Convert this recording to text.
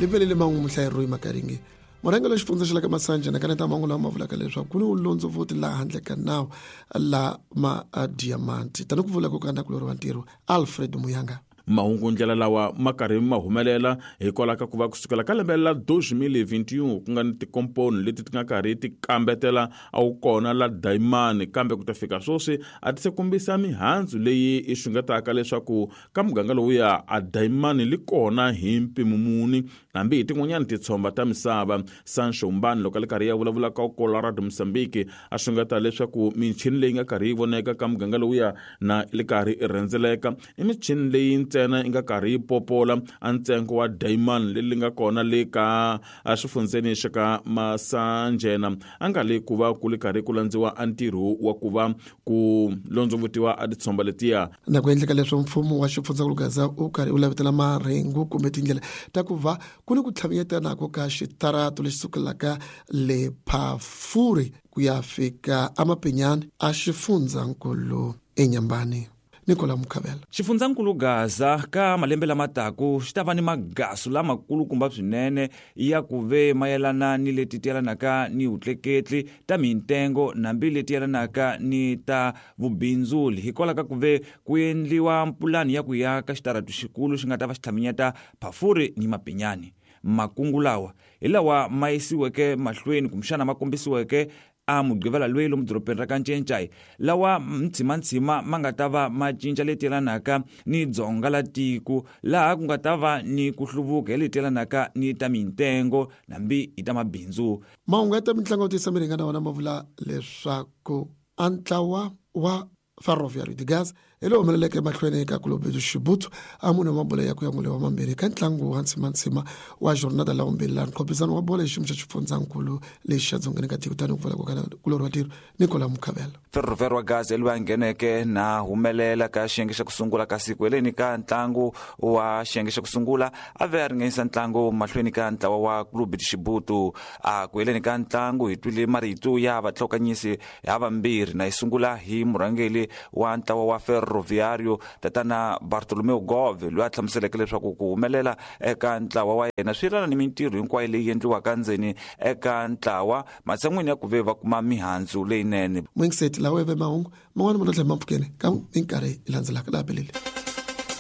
Livelele man'we muhlayeri Makaringe. Murhangeri wa xifundza xa le ka Masanje na kaneta mahungu lama ma vulaka leswaku ku ni vulondzovoti laha handle ka nawu la madiamanti tani ku vula ku ka nakulorhi wa ntirho Alfred Muyanga. Mahungu ndlela lawa ma karhi ma humelela hikwalaho ka ku va kusukela ka lembe la 2021 ku nga ni tikomponi leti ti nga karhi ti kambetela a wu kona la dayimani, kambe ku ta fika sweswi a ti se kombisa mihandzu leyi i xungetaka leswaku ka muganga lowuya a dayimani li kona hi mpimo muni hambi hi tin'wanyana titshomba ta misava. Sancho Mbani loko a li karhi ya vulavula ka Colorado Mozambique a xungeta leswaku michini leyi nga karhi yi voneka ka muganga lowuya na li karhi i rhendzeleka i michini leyi ntsena yi nga karhi yi popola a ntsengo wa dayimani leri nga kona le ka exifundzeni xa ka Masanjena a nga le ku va ku li karhi ku landziwa a ntirho wa ku va ku londzovutiwa a titshomba letiya. Na ku endleka leswo mfumo wa xifundzankulu Gaza wu karhi wu lavetela marhengu kumbe tindlela ta ku va ku ni ku tlhavinyetanako ka xitarato lexi sukelaka le Phafuri ku ya fika eMapinyani a xifundzankulu eNyambani. Nicola Mukhavela. Xifundzankulu Gaza ka malembe lama taku xi ta va ni magasu lamakulukumba swinene ya ku ve mayelana ni leti ti yelanaka ni vutleketli ta mintengo nambi leti yelanaka ni ta vubindzuli, hikwalaho ka ku ve ku endliwa mpulani ya ku yaka xitaratu xikulu xi nga ta va xi tlhaminyeta Phafuri ni Mapinyani. Makungu lawa hi lawa ma yisiweke mahlweni kumbexana ma kombisiweke a Mugqivela loyi lomu dorobeni ra ka Ncencai, lawa ntshima-ntshima ma nga ta va ma cinca leti yelanaka ni dzonga la tiko, laha ku nga ta va ni ku hluvuka hi leti yelanaka ni ta mintengo nambi hi ta mabindzu. Mahungu ya ta mintlangu ya ku tiyisa miringa na wona ma vula leswaku a ntlawa wa Ferroviário de Gaza hi lowu humeleleke emahlweni ka Clube do Chibuto a mune wa mabolo ya ku ya mune wa mambirhi ka ntlangu wa ntsimantsima wa jornada la vumbirhi laha nkhophisano wa bolo hi xiyimo xa xifundzankulu lexi xa dzongeni ka tiko tani ku pfula kulorhi wa tiro Nicola Mukhavela. Ferroviário wa Gaza loyi a ngheneke na humelela ka xiyenge xa ku sungula ka siku heleni ka ntlangu wa xiyenge xa ku sungula a ve a ringanyisa ntlangu mahlweni ka ntlawa wa Clube de Chibuto. A ku heleni ka ntlangu hi twile marito ya vatlhokanyisi havambirhi na yi sungula hi murhangeri wa ntlawa wa Ferroviário tatana Bartolomeu Gove loyi a hlamuseleke leswaku ku humelela eka ntlawa wa yena swi yelana ni mintirho hinkwayo leyi endliwaka ndzeni eka ntlawa matshan'wini ya ku ve va kuma mihandzu leyinene. Mwingiseti lawa ya ve mahungu man'wana ma ta tlhela ma pfukeni ka minkarhi yi landzelaka laha belele.